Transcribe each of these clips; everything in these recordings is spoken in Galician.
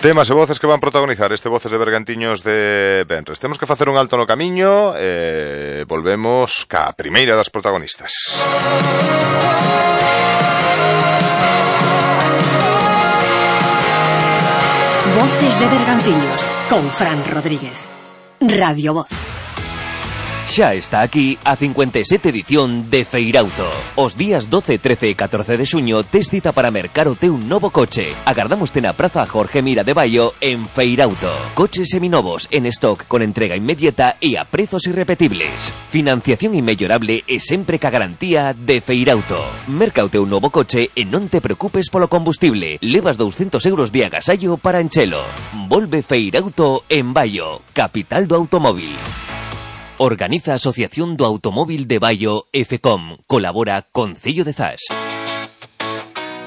Temas e voces que van protagonizar este Voces de Bergantiños de venres. Temos que facer un alto no camiño e volvemos ca primeira das protagonistas. Voces de Bergantiños con Fran Rodríguez. Radio Voz. Xa está aquí a 57 edición de Feirauto. Os días 12, 13 e 14 de xuño tes cita para mercar o teu novo coche. Agardámoste na Praza Jorge Mira de Baio en Feirauto. Coches seminovos en stock con entrega inmediata e a prezos irrepetibles. Financiación inmellorable e sempre ca garantía de Feirauto. Merca o teu novo coche e non te preocupes polo combustible. Levas 200 euros de agasallo para enchelo. Volve Feirauto en Baio, capital do automóvil. Organiza a Asociación do Automóvil de Baio e FECOM. Colabora Concello de Zas.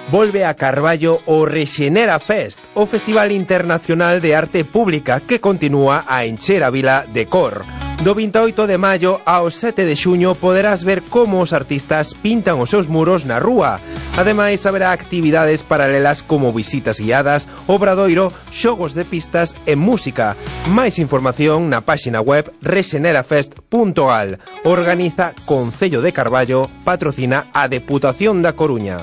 Volve a Carballo o Rexenera Fest, o Festival Internacional de Arte Pública que continúa a encher a vila de cor. Do 28 de maio ao 7 de xuño poderás ver como os artistas pintan os seus muros na rúa. Ademais, haberá actividades paralelas como visitas guiadas, obradoiro, xogos de pistas e música. Máis información na páxina web rexenerafest.gal. Organiza Concello de Carballo, patrocina a Deputación da Coruña.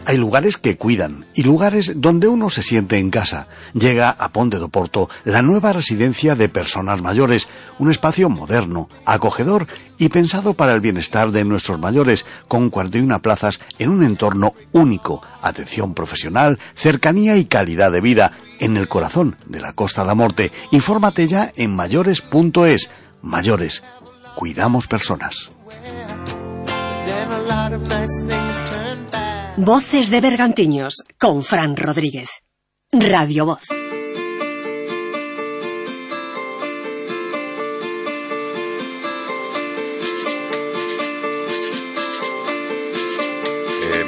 Hay lugares que cuidan y lugares donde uno se siente en casa. Llega a Ponte do Porto la nueva residencia de personas mayores, un espacio moderno, acogedor y pensado para el bienestar de nuestros mayores, con 41 plazas en un entorno único, atención profesional, cercanía y calidad de vida, en el corazón de la Costa da Morte. Infórmate ya en mayores.es. Mayores, cuidamos personas. Voces de Bergantiños con Fran Rodríguez. Radio Voz.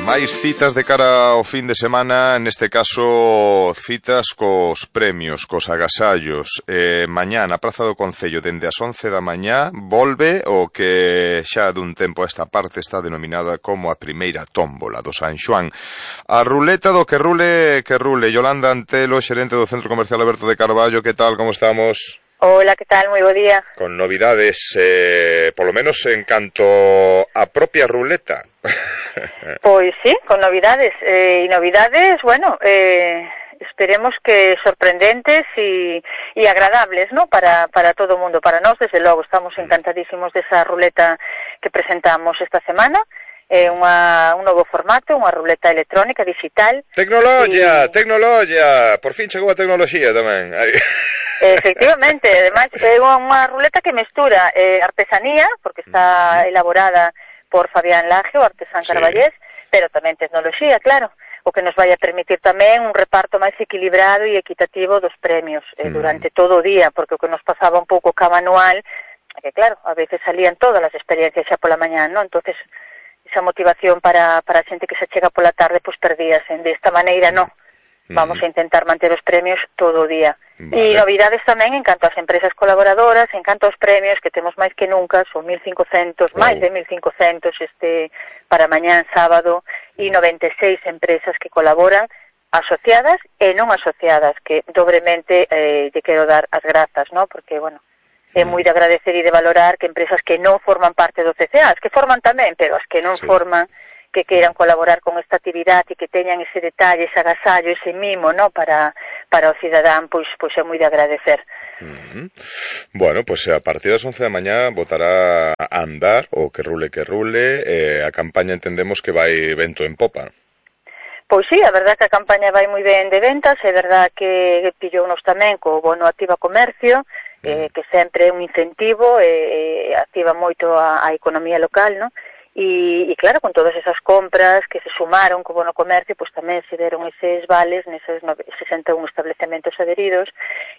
Máis citas de cara ao fin de semana, neste caso citas cos premios, cos agasallos. Mañá na Praza do Concello dende as 11 da mañá volve o que xa dun tempo a esta parte está denominada como a primeira tómbola do San Xoán. A ruleta do que rule. Yolanda Antelo, xerente do Centro Comercial Alberto de Carballo, que tal, como estamos? Hola, que tal? Moi bo día. Con novidades, polo menos en canto a propia ruleta. Pois sí, con novidades. E novidades, bueno, esperemos que sorprendentes e agradables, ¿no? Para todo o mundo. Para nós, desde logo, estamos encantadísimos desa ruleta que presentamos esta semana. É un novo formato, unha ruleta electrónica, digital. Tecnoloxía! Por fin chegou a tecnoloxía tamén. Efectivamente, ademais é unha ruleta que mestura artesanía, porque está elaborada por Fabián Laje, o artesán carballés, pero tamén tecnoloxía, claro, o que nos vai a permitir tamén un reparto máis equilibrado e equitativo dos premios durante todo o día, porque o que nos pasaba un pouco ca manual, que claro, a veces salían todas as experiencias xa pola mañá, non? Entonces, esa motivación para a xente que se chega pola tarde, pois perdíase. De esta maneira, non. Vamos a intentar manter os premios todo o día. Vale. E novidades tamén en canto ás empresas colaboradoras, en canto aos premios, que temos máis que nunca, son 1.500, máis de 1.500 para mañán sábado, e 96 empresas que colaboran, asociadas e non asociadas, que dobremente lle quero dar as grazas, ¿no? Porque, bueno, é moi de agradecer e de valorar que empresas que non forman parte do CCA, as que forman tamén, pero as que non forman, que queiran colaborar con esta actividade e que teñan ese detalle, ese agasallo, ese mimo, ¿no? Para o cidadán, pois é moi de agradecer. Bueno, pois a partir das 11 da mañá botará a andar o que rule, a campaña entendemos que vai vento en popa. Pois sí, a verdad que a campaña vai moi ben de ventas, é verdad que pillounos tamén co bono Activa Comercio, que sempre é un incentivo, activa moito a economía local, ¿no? E claro, con todas esas compras que se sumaron co bono comercio, pois tamén se deron eses vales neses 61 establecementos adheridos,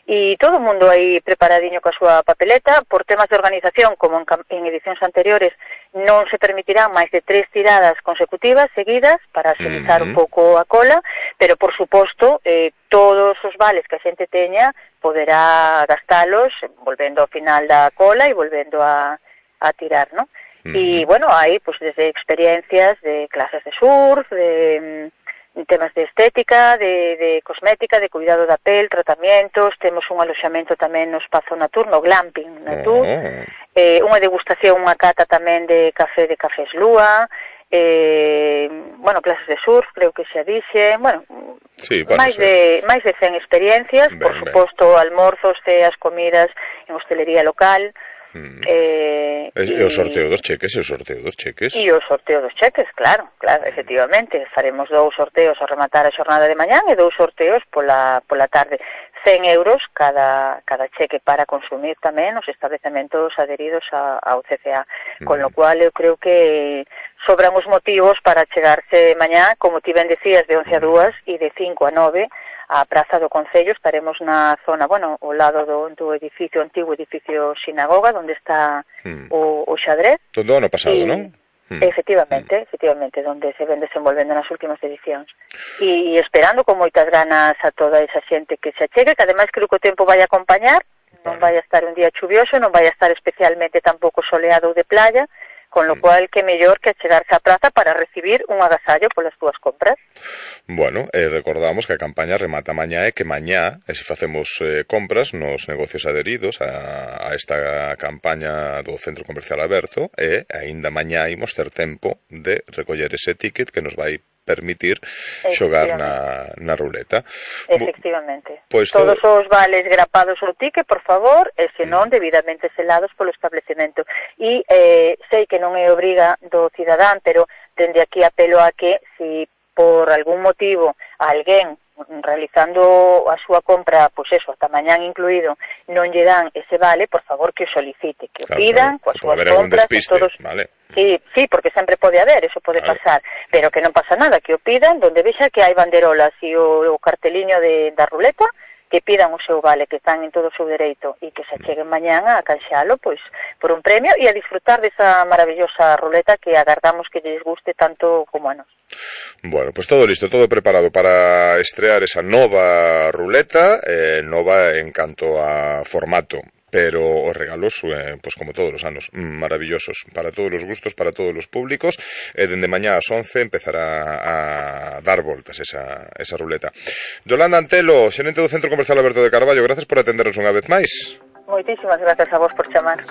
e todo o mundo aí preparadiño coa súa papeleta. Por temas de organización, como en edicións anteriores, non se permitirán máis de 3 tiradas consecutivas seguidas para agilizar un pouco a cola, pero por suposto todos os vales que a xente teña poderá gastalos volvendo ao final da cola e volvendo a tirar, ¿no? Y bueno, hay pues desde experiencias de clases de surf, de temas de estética, de cosmética, de cuidado da pel, tratamientos, temos un aloxamento tamén no espazo Natur, no glamping Natur, unha degustación, unha cata tamén de cafés Lúa, bueno, clases de surf, creo que xa dixe, bueno, sí, máis de 100 experiencias, por suposto, almorzos, ceas, comidas en hostelería local. E o sorteo dos cheques, E o sorteo dos cheques, claro, efectivamente. Faremos 2 sorteos ao rematar a xornada de mañán e 2 sorteos pola tarde. 100 euros cada cheque para consumir tamén nos establecementos adheridos ao CCA. Con lo cual eu creo que sobran os motivos para chegarse mañá, como ti ben decías, de 11 a 2 e de 5 a 9 a Praza do Concello. Estaremos na zona, bueno, ao lado do edificio, antigo edificio sinagoga, onde está o xadrez. Todo ano pasado, non? Efectivamente, donde se ven desenvolvendo nas últimas edicións. E esperando con moitas ganas a toda esa xente que se achegue, que ademais creo que o tempo vai a acompañar, non vai a estar un día chuvioso, non vai a estar especialmente tampouco soleado ou de playa, con lo cual que mellor que achegarse á praza para recibir un agasallo polas túas compras. Bueno, recordamos que a campaña remata mañá e que mañá, se facemos compras nos negocios adheridos a esta campaña do Centro Comercial Aberto, e aínda mañá imos ter tempo de recoller ese ticket que nos vai permitir xogar na ruleta. Efectivamente. Pues todos os vales grapados ao ticket, por favor, e senón debidamente selados polo establecemento. E sei que non é obriga do cidadán, pero dende aquí apelo a que, si por algún motivo alguén realizando a súa compra, pois eso, hasta mañán incluído, non lle dan ese vale, por favor que o solicite, que o pidan, coas súas compras, todos... Vale. Sí, porque sempre pode haber, eso pode pasar, pero que non pasa nada, que o pidan, donde vexa que hai banderolas e o carteliño da ruleta, que pidan o seu vale, que están en todo o seu dereito, e que se cheguen mañán a canxalo, pois, por un premio, e a disfrutar desa maravillosa ruleta que agardamos que lles guste tanto como a nos. Bueno, pues todo listo, todo preparado para estrear esa nova ruleta, nova en canto a formato, pero os regalos, pues como todos os anos, maravillosos, para todos os gustos, para todos os públicos. Dende mañá ás 11 empezará a dar voltas esa ruleta. Yolanda Antelo, xerente do Centro Comercial Aberto de Carballo, gracias por atendernos unha vez máis. Moitísimas grazas a vos por chamar.